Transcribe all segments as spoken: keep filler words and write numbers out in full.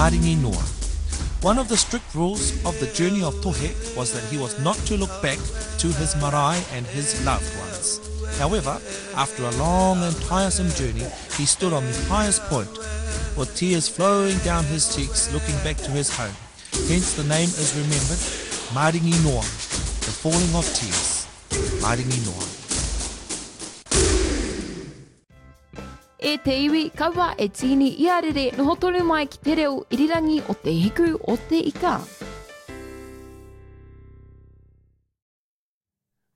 Maringi Noa. One of the strict rules of the journey of Tohe was that he was not to look back to his marae and his loved ones. However, after a long and tiresome journey, he stood on the highest point, with tears flowing down his cheeks, looking back to his home. Hence the name is remembered, Maringi Noa, the falling of tears. Maringi Noa. E te iwi, kaua e tīni i a rere noho tonu mai ki te reo irirangi o te hiku o te ika.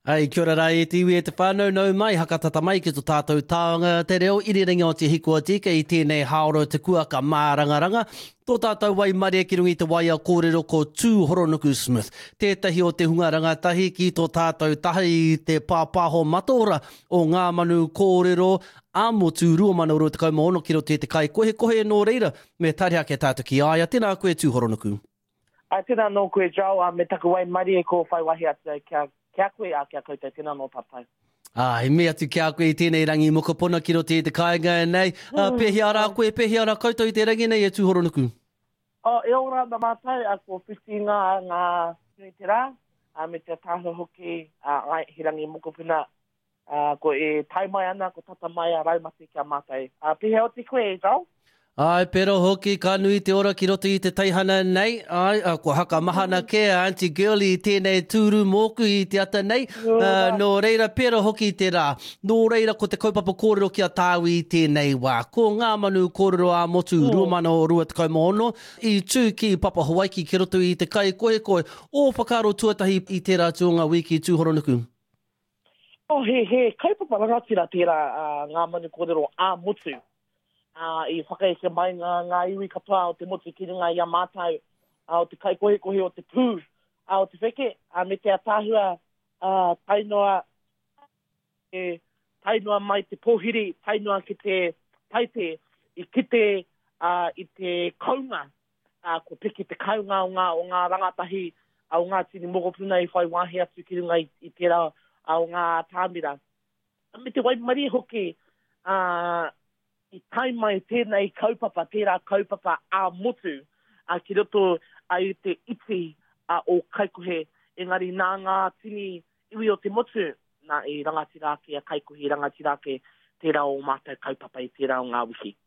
Ai, kia ora rā e te iwi e te whānau, nau mai, hakatata mai ki tō tātou taonga te reo irirangi o te hiku o te ika i tēnei haoro te kuaka mārangaranga. Tō tātou waimarie ki runga i te waia kōrero ko Tūhoronuku Smith, tētahi o te hunga rangatahi ki tō tātou taha i te pāpāho mataora o ngā manu kōrero ā-motu rua mano rua tekau mā ono ki roto i te kaikohekohe nō reira, me tari ake tātou ki a ia. Tēnā koe Tūhoronuku. Ai, tēnā nō koe Joel, a me taku waimarie ko whai wahi atu au kia, kia koe, a kia koutou, tēnā nō tātou. Ah, he mea atu ki a koe i tēnei rangi mokopuna ki roto i te kāinga nei. Ah, pēhea rā koe, pēhea rā koutou i te rangi nei e Tūhoronuku? Oh, e ora ana mātou, a ko whiti ngā, ngā nui te rā, a me te ataahua hoki, a, ai, he rangi mokopuna, a, ko e tae mai ana, ko tata mai a Raumati ki a mātou. A, pēhea oti koe, e Joel? Ai, pero hoki, ka nui te ora ki roto i te teihana nei. Ai, a, kua hakamahana kē a Auntie Girlie i tēnei tūru mōku i te ata nei. Uh, nō reira, pera hoki te rā. Nō reira, ko te kaupapa kōrero ki a tāu i tēnei wā. Ko ngā manu kōrero ā-motu mm. rua mano rua tekau mā ono i tū ki Papa Hawaiki ki roto i te kaikohekohe. Ō whakaaro tuatahi i tērā atu o ngā wiki Tūhoronuku? Oh, he, he kaupapa rangatira tērā uh, ngā manu kōrero ā-motu. Uh, i whakaeke mai ngā, ngā iwi katoa o te motu ki runga i a mātou, uh, o te kaikohekohe o te pū, uh, o te wheke, uh, me te ataahua, uh, tae noa, e, tae noa mai te pōhiri, tae noa ki te taite, i kite uh, i te kounga, uh, ko piki te kounga o ngā, o ngā rangatahi, uh, o ngā tini mokopuna i whai wāhi atu ki runga i, i tērā uh, o ngā tāmira. Me te waimarie hoki, uh, i tae mai tēnei kaupapa, tērā kaupapa ā-motu, uh, ki roto uh, i te iti uh, o Kaikohe, engari nā ngā tini iwi o te motu, nā i rangatira ake a Kaikohe, i rangatira ake tērā o mātou kaupapa i tērā o ngā wiki.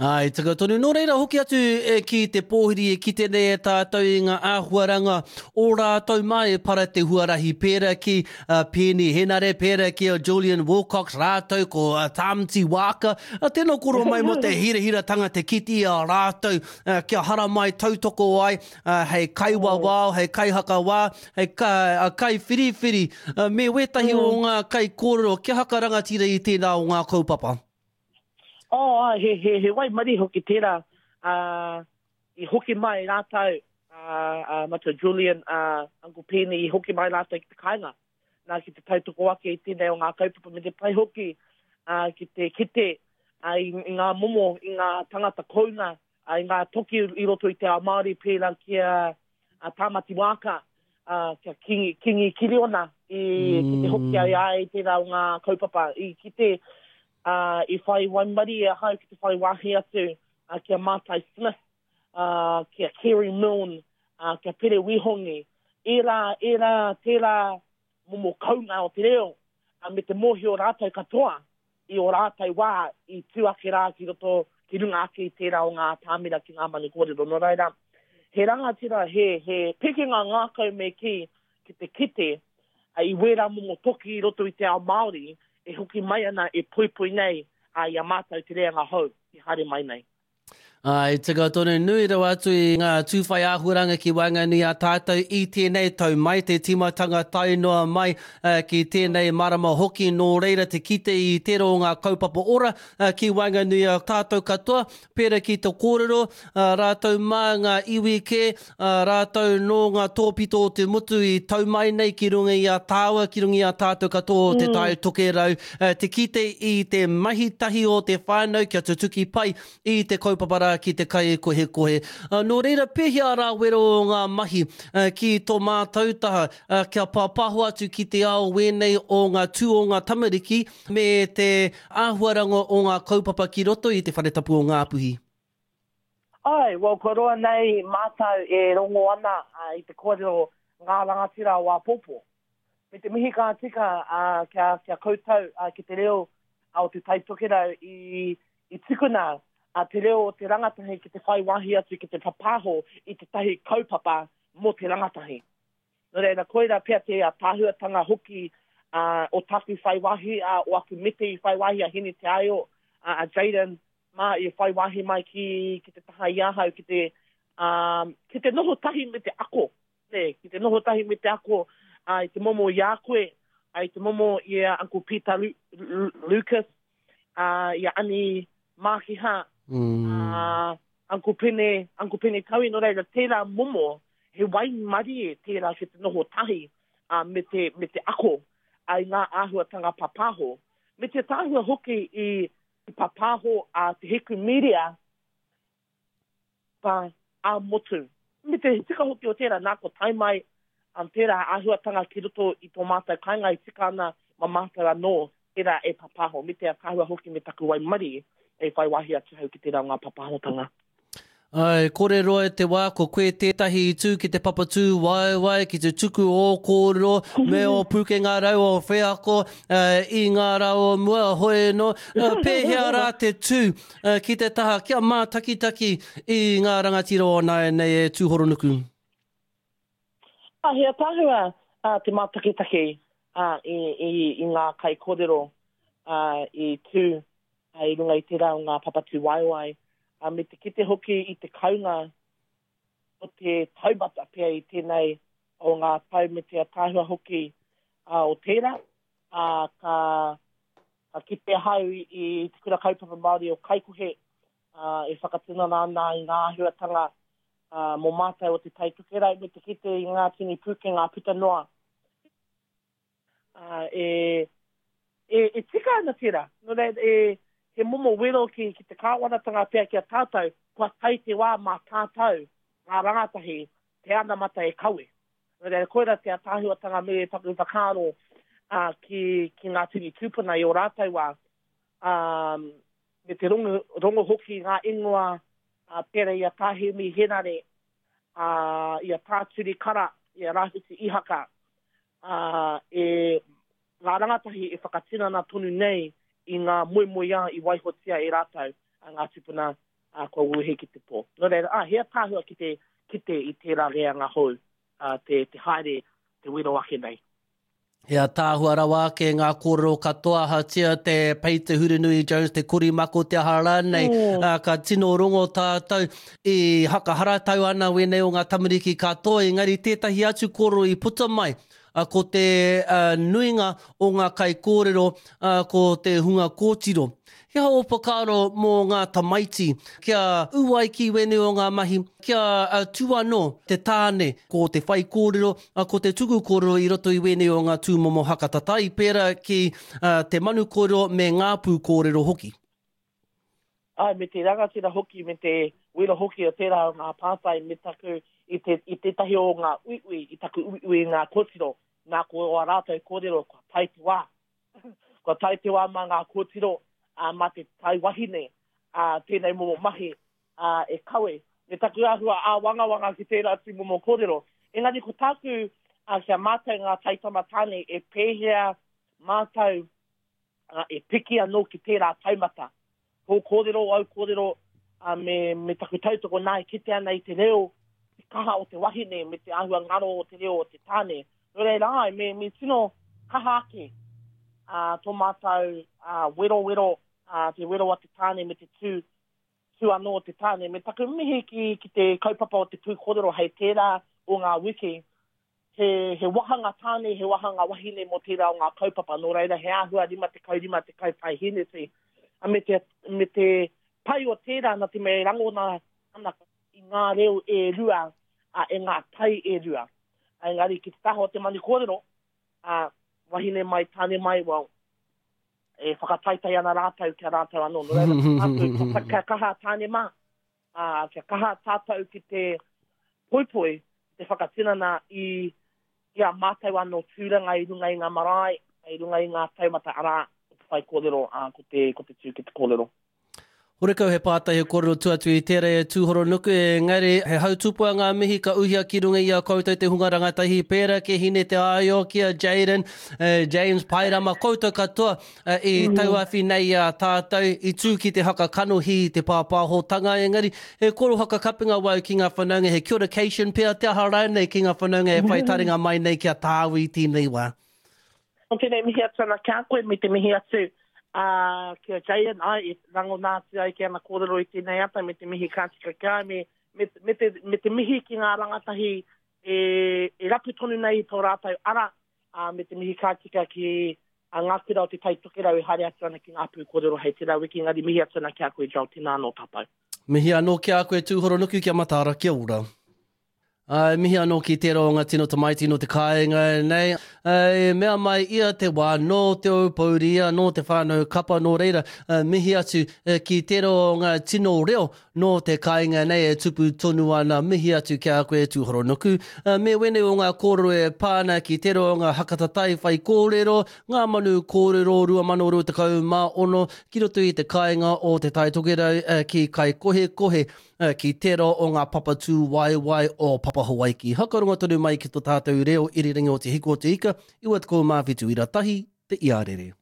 Ai, tika tonu. Nō reira, hoki atu e ki te pōhiri e kite nei e tātou i ngā āhuaranga o rātou mai e para te huarahi pērā ki uh, Peeni Henare, pērā ki a Julian Wilcox, rātou ko uh, Tāmati Wāka. Uh, tēnā koro mai mō te hirahiratanga te kite i a rātou uh, kia haramai tautoko ai uh, hei kaiwawao, hei kaihakawā, hei ka, uh, kaiwhiriwhiri, uh, me wētahi mm. o ngā kaikōrero kia haka rangatira i tēnā o ngā kaupapa. Oh, ai, he, he, he waimarie hoki tērā, uh, i hoki mai rātou, uh, uh, Matua Julian, uh, Uncle Peeni, i hoki mai rātou ki te kāinga. Nā, ki te tautoko ake i tēnei o ngā kaupapa me te pai hoki, uh, ki te kite uh, i, i ngā momo, i ngā tangata kounga, uh, i ngā toki i roto i te ao Māori pērā ki a, a Tāmati Wāka, uh, kia Kingi, Kingi Kiriona, i, mm. ki te hoki ai ai tērā o ngā kaupapa, i kite, Uh, i whai waimarie ahau ki te whai wāhi atu uh, ki a Mātai Smith, uh, ki a Kerry Milne, uh, ki a Pere Wihongi. Ērā, ērā, tērā momo kounga o te reo, uh, me te mōhio rātou katoa i o rātou wā i tū ake rā ki roto, ki runga ake i tērā o ngā tāmira ki ngā manu kōrero. Nō reira, he rangatira, he, he pikinga ngākau me ki, ki te kite, uh, i wērā momo toki i roto i te ao Māori, e hoki mai ana e poipoi nei a i a mātou te reanga hou i haere mai nei. Ai, tika tonu nui rawa atu i ngā tūwhai āhuaranga ki waenganui a tātou i tēnei tau mai te tīmatanga tae noa mai uh, ki tēnei marama hoki nō reira te kite i tērā o ngā kaupapa ora uh, ki waenganui a tātou katoa, pērā ki te kōrero, uh, rātou mā ngā iwi kē, uh, rātou nō ngā tōpito o te motu i tau mai nei ki runga i a tāua, ki runga i a tātou katoa o te mm. Tai Tokerau, uh, te kite i te mahi tahi o te whānau kia tutuki pai i te kaupapa rā ki te kaikohekohe. Uh, nō reira, pēhea rā wero o ngā mahi uh, ki tō mātou taha, uh, kia pāpāho atu ki te ao wēnei o ngā tū o ngā tamariki me te āhuaranga o ngā kaupapa ki roto i te whare tapu o Ngāpuhi? Ai, well, kua roa nei mātou e rongo ana uh, i te kōrero ngā rangatira o āpōpō. Me te mihi ka tika uh, kia, kia koutou uh, ki te reo uh, o te Tai Tokerau i, i tukuna uh, te reo o te rangatahi ki te whai wāhi atu ki te papaho i te tahi kaupapa mō te rangatahi. Nō reira, koira pea te ātaahuatanga hoki uh, o taku whai wāhi, uh, o aku mete i whai wāhi a Hine Te Aio, uh, a Jaden, mā i whai wāhi mai ki, ki te taha i ahau, ki te, um, ki te noho tahi me te ako. Ne, ki te noho tahi me te ako uh, i te momo i a koe, uh, i te momo i a Uncle Peter Lu Lu Lucas, uh, i a Ani Mākiha, mm. uh, Uncle Pene, Uncle Pene Taui, nō reira, tērā momo, he waimarie tērā ki te noho tahi uh, me, te, me te ako uh, i ngā āhuatanga papaho. Me te tāhua hoki i i papaho a Te Hiku Media pa a motu. Me te tika hoki o tērā, nā ko tae mai um, tērā āhuatanga ki roto i tō mātou kāinga i tika ana ma mātou anō tērā e papaho. Me te tāhua hoki me taku waimarie e whai wāhi atu hau ki tērā o ngā papahotanga. Ai, kore roa te wā, ko koe tētahi i tū ki te papatū waewae, ki te tuku o kōrero, me o pūkenga rau o wheako uh, i ngā rā o mua, hoi no, uh, pēhea rā te tū uh, ki te taha, kia mātakitaki i ngā rangatira o nāianei e Tūhoronuku. Ah, he ataahua uh, te mātakitaki uh, i, i, i ngā kaikōrero uh, i tū uh, i runga i tērā o ngā papatū waewae. Uh, me te kite hoki i te kaunga o te taumata pea i tēnei o ngā tau me te ataahua hoki uh, o tērā. Uh, ka, ka kite ahau i, i te kura kaupapa Māori o Kaikohe uh, e whakatinana ana i ngā āhuatanga uh, mō mātou o te Tai Tokerau me te kite i ngā tini pūkenga puta noa. Uh, e, e, e tika ana tērā. Nō reira, e, he momo wero ki, ki te kāwanatanga pea ki a tātou, kua tae te wā mā tātou, ngā rangatahi, te anamata e kawe. Nō reira, koira te ataahuatanga me taku whakaaro uh, ki, ki ngā tini tūpuna i o rātou wā. Um, me te rongo, rongo hoki ngā ingoa uh, pērā i a Tāhemi Henare, uh, i a Tāturi Kara, i a Rāwhiti Ihaka, uh, e ngā rangatahi e whakatinana tonu nei i ngā moemoeā i waihotia e rātou a ngā tūpuna uh, kua wuhe ki te pō. Nō reira, ah, he ataahua ki te kite i tērā reanga hou, uh, te, te haere, te wero ake nei. He ataahua rawa ake ngā kōrero katoa hatia te Pei Te Hurinui Jones, te Korimako, te aha rānei, Mm. uh, ka tino rongo tātou i hakaharatau ana wēnei o ngā tamariki katoa, engari tētahi atu kōrero i puta mai, uh, ko te uh, nuinga o ngā kaikōrero, uh, ko te hunga kōtiro. He aha o whakaaro mō ngā tamaiti, kia ū ai ki wēnei o ngā mahi, kia uh, tū anō te tāne, ko te whai kōrero, uh, ko te tuku kōrero i roto i wēnei o ngā tūmomo hakatatai, pērā ki uh, te manu kōrero me ngā pū kōrero hoki. Ai, me te rangatira hoki, me te wero hoki o tērā o ngā pātai, me taku i, te, i tētahi o ngā uiui, i taku uiui i ngā kōtiro, nā ko o a rātou kōrero, kua tae te wā. Kua tae te wā mā ngā kōtiro, uh, mā te tai wahine, uh, tēnei momo mahi uh, e kawe. Me taku āhua āwangawanga ki tērā tū momo kōrero. Engari ko tāku uh, kia mātou ngā taitama tāne e pēhea mātou uh, e piki anō ki tērā taumata. Tō kōrero, au kōrero, uh, me, me taku tautoko nā e kite ana i te reo, te kaha o te wahine, me te āhua ngaro o te reo o te tāne. Nō reira ai, me, me tino kaha ake uh, tō mātou uh, wero wero, uh, te wero a te tāne me te tū, tū anō o te tāne. Me taku mihi ki, ki te kaupapa o te pū kōrero hei tērā o ngā wiki, he, he wahanga tāne, he wahanga wahine mō tērā o ngā kaupapa. Nō reira, he āhua rima tekau rima tekau paeheneti. A me te, me te pai o tērā nā te mea e rangona ana i ngā reo e rua, a, e ngā tai e rua. A, engari ki te taha o te manu kōrero, a, wahine mai, tāne mai, well, e whakataitai ana rātou kia rātou anō. Nō reira, tātou, kia, kia kaha tāne mā, a, kia kaha tātou ki te poipoi, te whakatinana i, i a mātou anō tūranga i runga i ngā marae, i runga i ngā taumata arā, ko te whai kōrero, ā, ko te, ko te tū ki te kōrero. Horekau he pātai he kōrero tua atu i tērā e Tūhoronuku, engari he hautupua ngā mihi ka uhia ki runga i a koutou te hunga rangatahi pērā ki Hine Te Aio, ki a Jaden, James Pairama, koutou katoa i tauawhi nei i a tātou, i tū ki te haka kanohi i te pāpāhotanga, engari he koro hakakapinga wau ki ngā whanaunga, he kia ora-cation pea te aha rānei ki ngā whanaunga e whai taringa mai nei ki a tāu i tēnei wā. Tēnei mihi atu ana ki a koe me te mihi atu ā, ki a Jaden, āe, i rangona atu ai ki ana kōrero i tēnei ata me te mihi ka tika ki a ia, me, me, me, te, me te mihi ki ngā rangatahi e, e rapu tonu nei i tō rātou ara, ā, me te mihi ka tika ki a ngā kura o Te Tai Tokerau e haere atu ana ki ngā pū kōrero hei tērā wiki, engari mihi atu ana ki a koe, Joel, tēnā anō tātou. Mihi anō ki a koe, Tūhoronuku, kia mataara, kia ora. Ā, mihi anō ki tērā o ngā tino tamaiti nō te kāinga nei. Ā, e mea mai ia te wā nō Te Aupōuri ia, nō te whānau kapa, nō reira, ā, mihi atu ki tērā o ngā tino reo nō te kāinga nei e tupu tonu ana. Mihi atu ki a koe Tūhoronuku. Ā, me wēnei o ngā kōrero e pā ana ki tērā o ngā hakatatai whaikōrero, ngā manu kōrero rua mano rua tekau mā ono ki roto i te kāinga o Te Tai Tokerau ki Kaikohekohe. Ki tērā o ngā papa tūwaewae o Papa Hawaiki. Hakarongo tonu mai ki to tātou reo irirangi o Te Hiku o Te Ika, iwa tekau mā whitu ira tahi, te iarere.